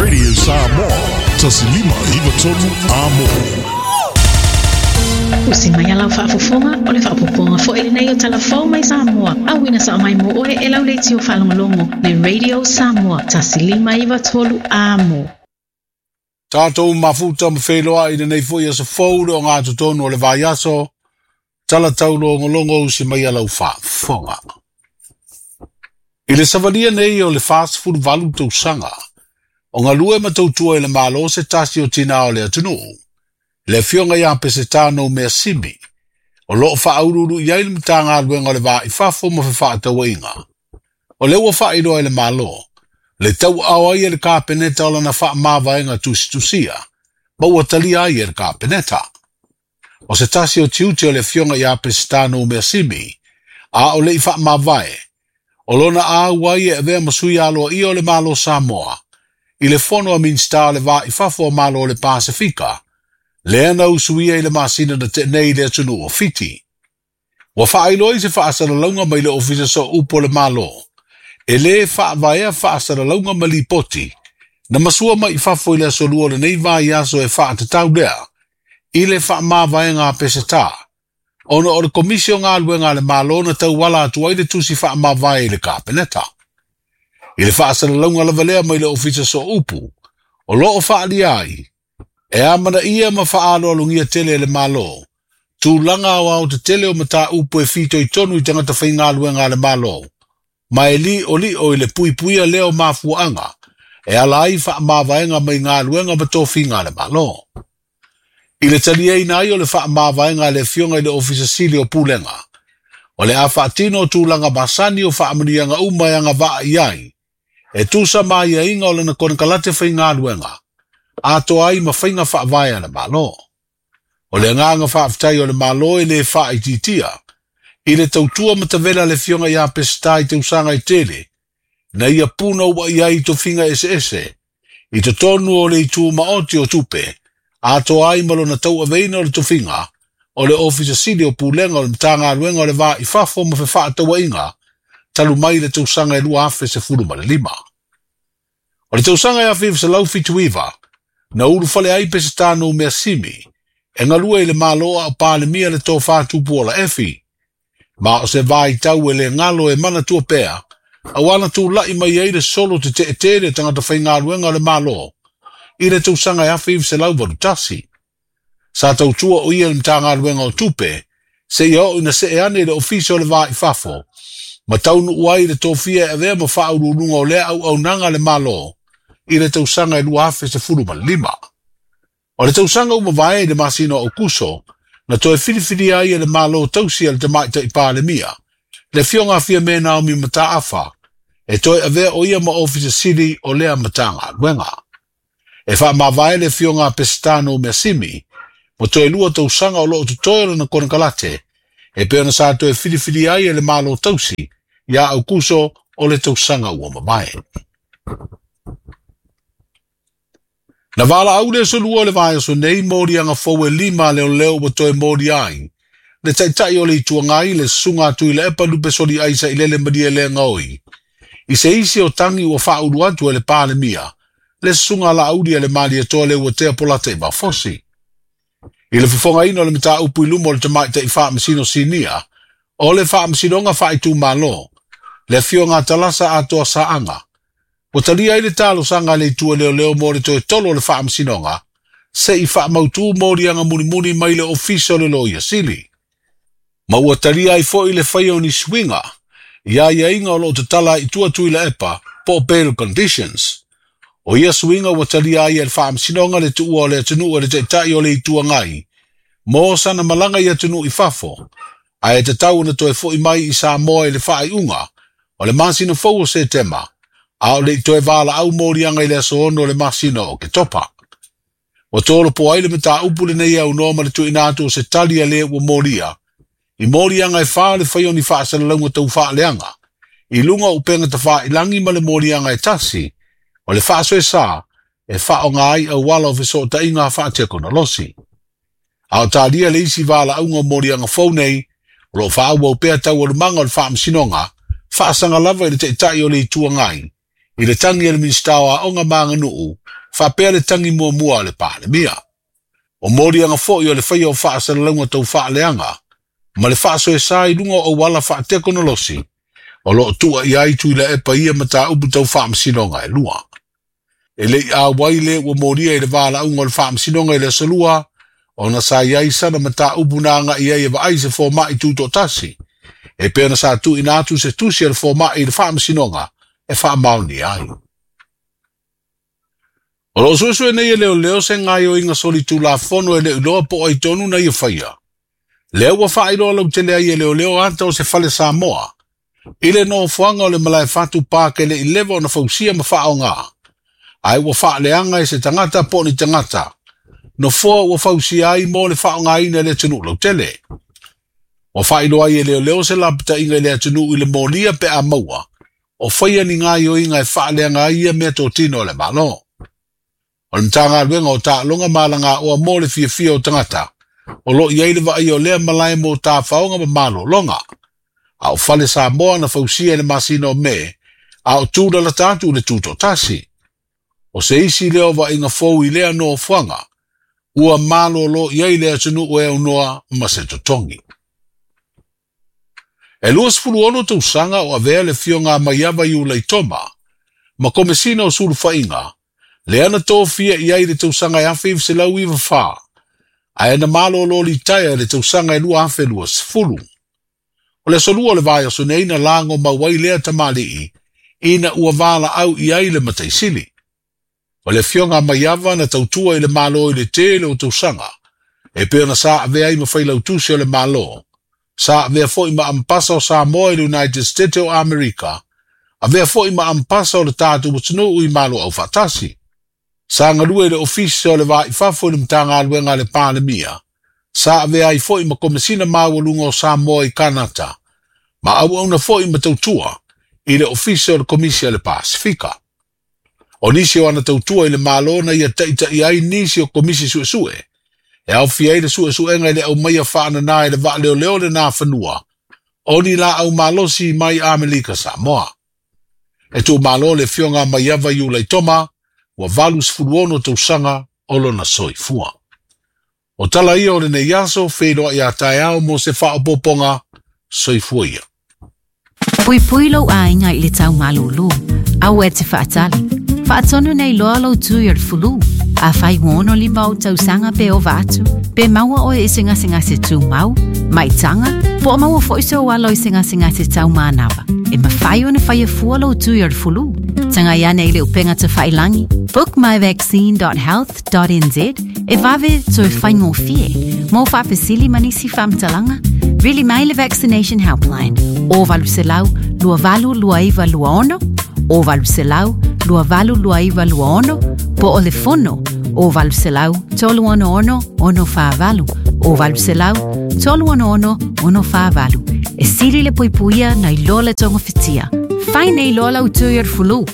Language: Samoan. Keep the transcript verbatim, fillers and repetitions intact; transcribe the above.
Radio Samoa, Tasilima Iva Tolu Amo. Usi mai a lau faafofoga o le faaopoopoga foi lenei o Talafou mai Samoa. Auina sao mai mo oe e lau leitio faalogologo le Radio Samoa tasi lima iva tolu Amo. Tātou mafuta ma wheloa i lenei foi aso fou le o ngā totonu o le vaiaso, tala taulogologo usi mai a lau faafofoga. I le savalia nei o le fasefulu valu tausaga, o galue ma tautua i le Malo se tasi o tinā o le atunuu, le afioga ia Peseta Noumea Simi, o loo faauluulu i ai le Matagaluega o le Va i Fafo ma Fefaatauaiga. O lea ua faailoa i le Malo, le tauaao ai e le Kapeneta o lana faamavaega tusitusia, ma ua talia ai e le Kapeneta. O se tasi o tiute o le afioga ia Peseta Noumea Simi, a o le i faamavae, o lona auai e avea ma sui aloaia o le Malo Samoa, i le fono a Minisita o le Va i Fafo o Malo o le Pasifika, lea na usuia i le masina na tenei i le atunuu o Fiti. Ua faailoa i se faasalalauga mai le Ofisa Sooupu o le Malo, e lē faavaea faasalalauga ma lipoti, na masua mai i fafo i le aso lua o lenei vaiaso e faatatau lea, i le faamavaega a Peseta, ona o le Komisi o Galuega a le Malo na tauala atu ai le tusi faamavae i le Kapeneta. I le faasalalauga lava lea mai le Ofisa Sooupu, o loo faalia ai, e amanaia ma faaaloalogia tele e le Malo, tulaga aoao tetele o mataupu e fitoitonu i tagata faigaluega a le Malo, ma e li'oli'o i le puipuia lea o mafuaaga, e ala ai faamavaega mai galuega ma tofiga a le Malo. I le taliaina ai o le faamavaega a le afioga i le Ofisa Sili o Pulega, o le a faatino o tulaga masani o faamanuiaga uma e agavaa i ai, e tusa ma aiaiga o lana konekarate faigaluega, atoa ai ma faiga faavae a le Malo. O le agaga faafetai o le Malo e lē faaitiitia, i le tautua matavela a le afioga ia Peseta i tausaga e tele, na ia puna ua i ai i tofiga eseese, i totonu o le itu maoti o tupe, atoa ai ma lona tauaveina o le tofiga, o le Ofisa Sili o Pulega o le Matagaluega o le Va i Fafo ma Fefaatauaiga, talu mai le tausaga e lua afe sefulu ma le lima. O le tausaga e afe iva selau fitu iva, na ulufale ai Peseta Noumea Simi, e galue i le Malo a o Palemia le tofa Tupuola Efi. Ma o se vaitau e le galo e manatua pea, auā na tula'i mai ai le solo tete'etele tagata faigaluega o le Malo, i le tausaga e afe iva selau valu tasi. Sa tautua o ia i le Matagaluega o Tupe, seia oo ina see ane i le Ofisa o le Va i Fafo, ma taunuu ai i le tofia e avea ma faauluuluga o lea auaunaga a le Malo, i le tausaga e lua afe sefulu ma le lima. O le tausaga ua mavae i le masina o Aokuso, na toe filifilia ai e le Malo tausi a le Tamaitai Palemia, le afioga a Fiame Naomi Mataafa, e toe avea o ia ma Ofisa Sili o lea Matagaluega. E faamavae le afioga a Peseta Noumea Simi, mo toe lua tausaga o loo totoe o lana konekarate, e pei ona sa toe filifilia ai e le Malo tausi ia Aokuso o le tausaga ua mavae. Na valaau le aso lua o le vaiaso nei moliaga fou e lima a leoleo ua toe molia ai, le taitai o le Itu Agai le susuga a Tuilaepa Lupesoli Aisa i lele Malielegaoi, i se isi o tagi ua faaulu atu e le Palemia, le susuga a Laauli a le Malietoa Leuatea Polata Ivafosi. I le fofogaina o le mataupu i luma o le Tamaitai Faamasino Sinia, o le Faamasinoga Faaitumalo, le afioga a Talasa Atoa Saaga, ua talia ai le talosaga a le itu e leoleo mo le toe tolo o le Faamasinoga, se'i faamautū moliaga mulimuli mai le Ofisa o le Loia Sili. Ma ua talia ai foi le faia o ni suiga, i aiaiga o loo tatala i tua Tuilaepa po o bail conditions. O ia suiga ua talia ai e le Faamasinoga le tuua o le atunuu e le Taitai o le Itu Agai, mo sana malaga i atunuu i fafo, ae tatau ona toe fo'i mai i Samoa i le faaiuga o le masina fou o Setema, a o le i toe valaau moliaga i le aso ono o le masina o Oketopa. Ua tolopo ai le mataupu lenei e aunoa ma le tuuina atu o se tali a le ua molia, i moliaga e fa o le fai o ni faasalalauga taufaaleaga, i luga o upega tafailagi ma le moliaga e tasi, o le faasoesa e faaaoga ai auala o fesootaiga faatekonolosi. A o talia le isi valaauga o moliaga fou nei, o loo faaauau pea taualumaga o le Faamasinoga, faasaga lava i le Taitai o le Itu Agai, I le tagi a le Minisita o Aoga ma Aganuu, faapea le tagi muamua a le Palemia. O moliaga foi o le faia o faasalalauga tau faaleaga, ma le faasoesa i luga o auala faatekonolosi, o loo tua i ai Tuilaepa ia mataupu tau faamasinoga e lua. E lei auai le ua molia i le valaauga o le faamasinoga i le aso lua, ona sa i ai sana mataupu na agai ai e vaai se fomai tutoatasi, e pei ona sa tuuina atu se tusi a le fomai i le faamasinoga e faamaonia ai. O loo suesue nei e leoleo se gaoioiga solitulafono e le iloa po o ai tonu na ia faia. Lea ua faailoa lautele ai e leoleo ata o se fale Samoa, i le nofoaga o le Malaefatu Park e le i leva ona fausia ma faaoga, ae ua faaleaga e se tagata po o ni tagata, nofoa ua fausia ai mo le faaaogaina e le atunuu lautele. Ua faailoa ai e leoleo se lapataiga i le atunuu i le molia pe a maua, o faia ni gaoioiga e faaleaga ai ia meatotino a le Malo. O le Matagaluega o Taaloga ma Alagaoa mo le fiafia o tagata, o loo i ai le vaaia o lea malae mo tafaoga ma malologa. A o fale Samoa na fausia i le masina o Me, a o tūlalata atu i le tutoatasi. O se isi lea o vaaiga fou i lea nofoaga, ua malolo i ai le atunuu e aunoa ma se totogi. E luasefulu ono tausaga o avea le afioga a Maiava Iulaitoma, ma Komesina o Sulufaiga, lea na tofia i ai i le tausaga e afe iva selau iva fa, ae na malolo litaea i le tausaga e lua afe luasefulu. O le aso lua o le vaiaso nei na lago mau ai lea tamalii, ina ua valaau i ai le mataisili. O le afioga a Maiava na tautua i le Malo i le tele o tausaga, e pei ona sa avea ai ma failautusi o le Malo, sa avea foi ma ambassador o Samoa i le United States o Amerika, avea foi ma ambassador o le tatou atunuu i Malo Aufaatasi. Sa galue i le Ofisa o le Va i Fafo i le Matagaluega a le Palemia, sa avea ai foi ma Komesina Maualuga o Samoa i Kanata, ma auauna foi ma tautua i le Ofisa o le Komisi a le Pasifika. O nisi o ana tautua i le Malo na ia taitaia ai nisi o komisi suesue, e aofia ai le suesuega i le aumaia faanana e le vaaleoleo le Nafanua, o ni laau malosi mai Amerika Samoa. E tuumalo le afioga a Maiava Iulaitoma, ua valusefulu ono tausaga o lona soifua. O tala ia o lenei aso, feiloai a taeao mo se faaopoopoga, soifua ia. Puipui lou aiga i le tau malūlū. Aua e te faatali. Faatonu nei loa lou tui o le fulu. Afai ua ono lima ou tausaga pe ova atu, pe maua oe i se gasegase tumau, maitaga, po o maua foi sou alo i se gasegase taumanava. E mafai ona faia fua lou tui o le fulu. Tagai ane i le upega tafailagi, bookmyvaccine dot health dot N Z e vave toe faigofie. Mo faafesili ma nisi faamatalaga, vili mai le Vaccination Helpline o valu selau lua valu lua iva lua ono, o valu selau lua valu lua iva lua ono, po o le fono o valu selau tolu ono ono ono fa valu, o valu selau tolu ono ono ono fa valu. E sili le puipuia nai lo le togofitia. Fai nei loa lau tui o le fulu.